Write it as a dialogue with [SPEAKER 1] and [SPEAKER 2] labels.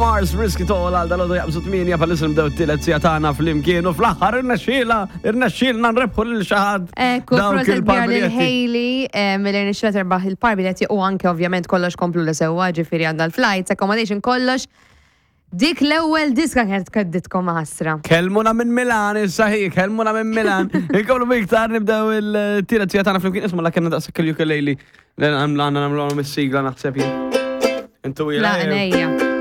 [SPEAKER 1] Mars, Risk It All għal dal-għodu jaqbżu 8 bħalissa nibdew t-tielet siegħa tagħna flimkien u fl-aħħar irnexxiela, irnexxielna nrebħu lil xi ħadd.
[SPEAKER 2] Ekku,
[SPEAKER 1] Dawk
[SPEAKER 2] proset kbira lil
[SPEAKER 1] il-parbiljetti.
[SPEAKER 2] Hailey, mill irnexxiela terbaħ il-parbiljetti u anke ovvjament kollox komplu li sewwa, ġifieri għandha l-flights, accommodation, kollox. Dik l-ewwel diska kienet kedditkom ħasra.
[SPEAKER 1] Kelmuna minn Milan, issa hi, kelmuna minn Milan. Inkomplu biktar nibdew il-tielet siegħa tagħna flimkien isma' la kellna daqshekk il-ukulele. Għandna nagħmlu mis-sigla naħseb jien. Intu
[SPEAKER 2] La,
[SPEAKER 1] ila.
[SPEAKER 2] nejja.